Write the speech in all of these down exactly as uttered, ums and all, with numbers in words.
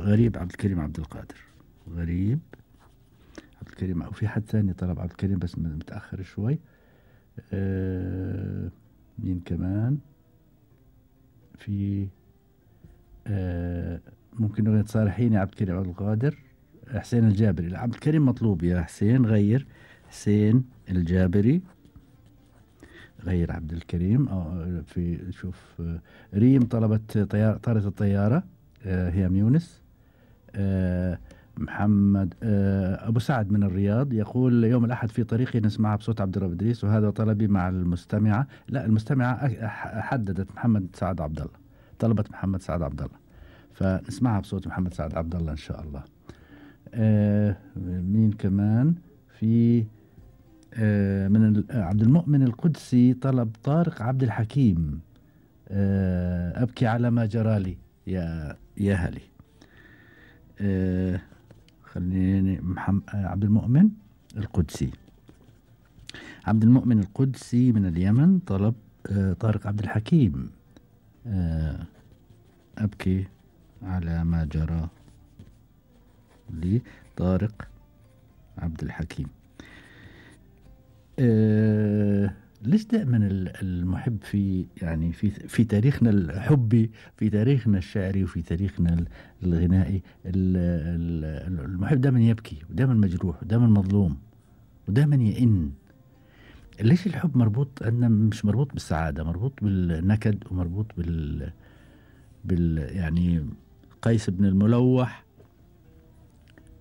غريب عبد الكريم عبد القادر. غريب عبد الكريم، أو في حد ثاني طلب عبد الكريم بس متأخر شوي. آه مين كمان في؟ آه ممكن أغنية صارحيني عبد الكريم عبد القادر. حسين الجابري. لا، عبد الكريم مطلوب يا حسين، غير حسين الجابري، غير عبد الكريم. أو في شوف، ريم طلبت طيارة طارت الطيارة، آه هي يونس. آه محمد آه أبو سعد من الرياض يقول يوم الأحد في طريقي نسمعها بصوت عبد الرب إدريس، وهذا طلبي مع المستمعة. لا، المستمعة حددت محمد سعد عبد الله، طلبت محمد سعد عبد الله، فنسمعها بصوت محمد سعد عبد الله إن شاء الله. آه مين كمان في؟ آه من عبد المؤمن القدسي طلب طارق عبد الحكيم. آه أبكي على ما جرالي يا يا هلي. آه خليني محمد عبد المؤمن القدسي. عبد المؤمن القدسي من اليمن طلب آه طارق عبد الحكيم. آه أبكي على ما جرى لي، طارق عبد الحكيم. آه ليش دائما المحب في يعني في في تاريخنا الحبي، في تاريخنا الشعري، وفي تاريخنا الغنائي، المحب دائما يبكي، ودائما مجروح، ودائما مظلوم، ودائما يئن. ليش الحب مربوط عندنا؟ مش مربوط بالسعادة، مربوط بالنكد، ومربوط بال بال يعني قيس بن الملوح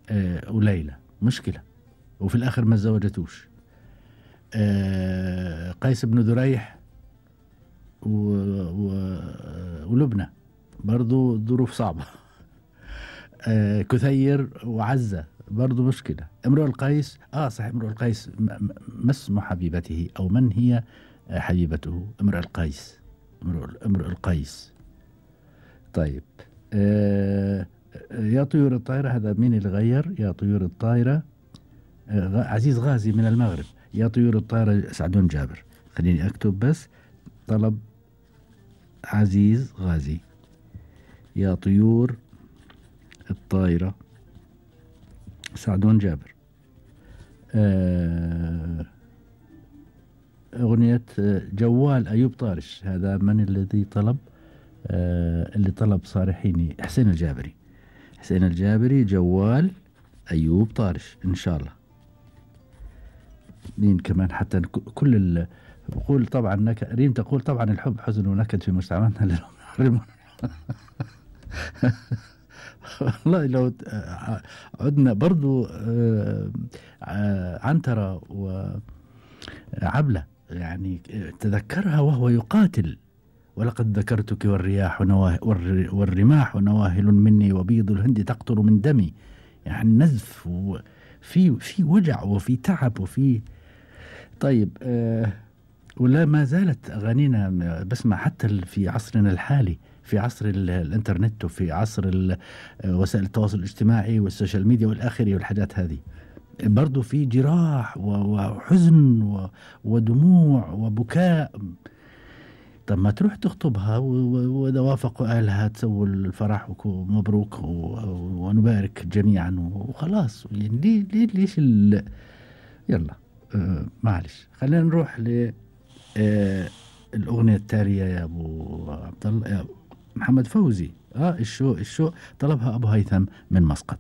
آه وليلى مشكلة، وفي الآخر ما تزوجتوش. آه قيس بن ذريح و... و... ولبنى برضو ظروف صعبة. آه كثير وعزة برضو مشكلة. امرؤ القيس اه صحيح، امرؤ القيس ما اسم حبيبته، او من هي حبيبته؟ امرؤ القيس، امرؤ القيس. طيب، آه يا طيور الطائرة، هذا مين اللي غير؟ يا طيور الطائرة آه عزيز غازي من المغرب. يا طيور الطائرة سعدون جابر. خليني أكتب بس، طلب عزيز غازي. يا طيور الطائرة سعدون جابر. آه أغنية جوال أيوب طارش، هذا من الذي طلب؟ آه اللي طلب صارحيني حسين الجابري. حسين الجابري جوال أيوب طارش إن شاء الله. مين كمان؟ حتى كل ال بقول طبعا نك... ريم تقول طبعا الحب حزن ونكد في مجتمعنا. والله لو عدنا برضو عنترة وعبلة، يعني تذكرها وهو يقاتل. ولقد ذكرتك والرياح نواه والرماح نواهل مني، وبيض الهند تقطر من دمي. يعني نزف، وفي في وجع، وفي تعب، وفي طيب. آه ولا ما زالت أغانينا بسمع حتى في عصرنا الحالي، في عصر الانترنت، وفي عصر وسائل التواصل الاجتماعي والسوشيال ميديا والآخري والحاجات هذه، برضو في جراح وحزن ودموع وبكاء. طب ما تروح تخطبها، وإذا وافقوا أهلها تسووا الفرح ومبروك ونبارك جميعا وخلاص. يعني ليه ليه ليش ال... يلا آه معلش، خلينا نروح ل آه الأغنية التالية يا أبو عبد الله، يا محمد فوزي. اه الشو الشو طلبها أبو هيثم من مسقط.